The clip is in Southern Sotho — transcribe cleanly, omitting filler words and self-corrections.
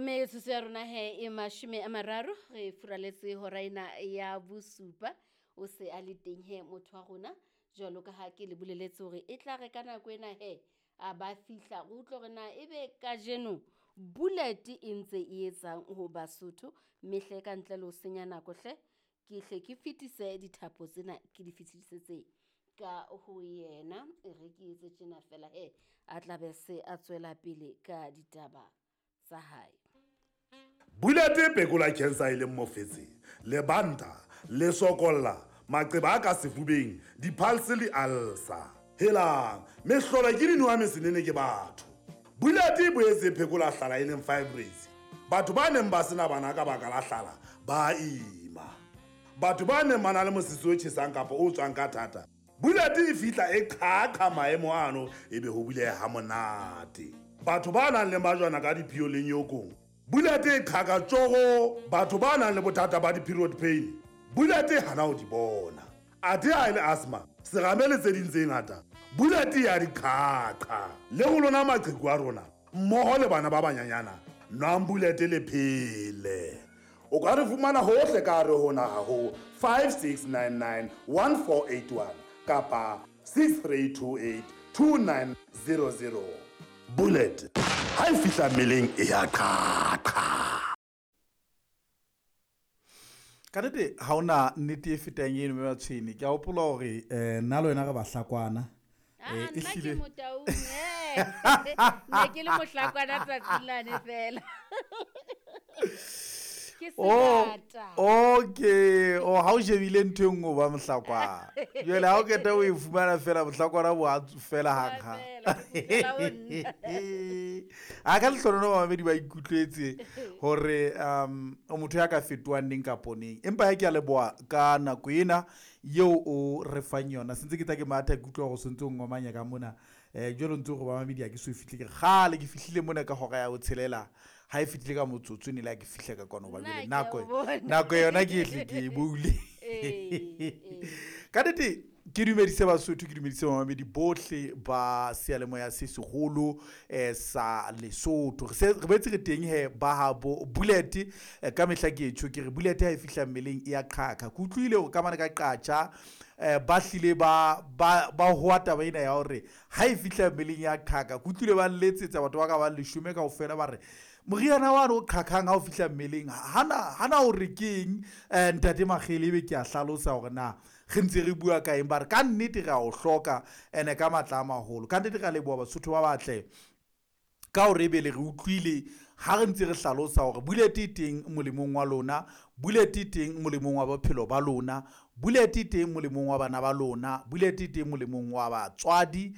Metsotso ya rona he e 30 re furaletse hora ena ya bosupa. O se a le teng he motho wa rona, jwalo ka ha ke le boleletse hore e tla re ka nako ena he a ba fihla re utlwe hore na ebe kajeno Bullet e ntse e etsang ho Basotho. Mme hle ka ntle le ho senya nako hle, ke hle ke fetise dithapo tsena ke di fetisetse ka ho yena. E re ke etse tjena fela he a tla be se a tswela pele ka ditaba tsa hae. Bullet e phekola cancer e leng mofetshe, lebanta, lesokolla, maqeba a ka sefubeng, di-pulse le ulcer. Helang, mehlolo ke dinowa mesenene ke batho. Bullet e boetse e phekola hlala e leng fibroids. Batho ba neng ba sena bana ka baka la hlala ba ima. Batho ba neng ba na le mosese o tjhesang kapa o tswang ka thata, Bullet e fihla e qhaqha maemo ano ebe ho buleha ha monate. Batho ba nang le majwana ka diphio le nyokong, Bullet e qhaka tjoro. Batho ba nang le bothata ba di-period pain, Bullet e hana ho di bona. Athe ha e le asthma, serame le tse ding tse ngata, Bullet ya di qhaqha. Le ho lona maqheku a rona mmoho le bana ba banyanyana, nwang Bullet le phele. O ka re fumana hohle ka hare ho naha ho 5699 1481 kapa 6328 2900. Bullet ha e fihla mmeleng e ya qhaqha. Ka nnete ha hona nnete e fetang eno, mme Matshwene. Ke a hopola hore nna le wena re bahlakwana. Ah, Eh, nna ke ehlile. Motaung, eh. Ne ke le mohlakwana tsatsing lane fela. Ke Oh, sebata. okay. Oh, ha o shebile ntho e nngwe o ba mohlakwana. Jwale ha o qeta o e fumana fela, mohlakwana bo a fela hang hang. Fela, bo kgutlela ho nna. A ka lehlohonolo bamamedi ba ikutlwetse hore o motho ya ka fetohang neng kapo neng. Empa ha ke a leboha ka nako ena eo o re fang yona. Sentse ke tla ke matha, ke utlwa hore o sentse o ngomanya ka mona. Jwale o ntse o re bamamedi ha ke so fihle, ke re kgale ke fihlile mona ka hora ya botshelela. Ha e fihlile ka motsotso ne le ha ke fihla ka kwano, hoba Nna jwale ke a nako o bona. nako yona ke ehle ke e boule. Ee, ee. Ka nnete ke dumedise Basotho, ke dumedise bamamedi bohle ba seyalemoya se seholo sa Lesotho. Re se re boetse re teng he ba habo Bullet. Ka mehla ke tjho ke re Bullet ha e fihla mmeleng e ya qhaqha. Ke utlwile hore ka mane ka Qacha ba hlile ba hoa taba ena ya hore ha e fihla mmeleng ya qhaqha. Ke utlwile ba letsetsa batho ba ka bang 10 kaofela ba re moriana wa o qhaqhang ha o fihla mmeleng hana hore ke eng. Ntate Makgele ebe ke a hlalosa hore na re ntse re bua ka eng, ba re ka nnete re a o hloka ene ka matla a maholo. Ka nnete re a leboha Basotho ba batle ka hore ebe le re utlwile ha re ntse re hlalosa hore Bullet e teng molemong wa lona, Bullet e teng molemong wa bophelo ba lona, Bullet e teng molemong wa bana ba lona, Bullet e teng molemong wa batswadi.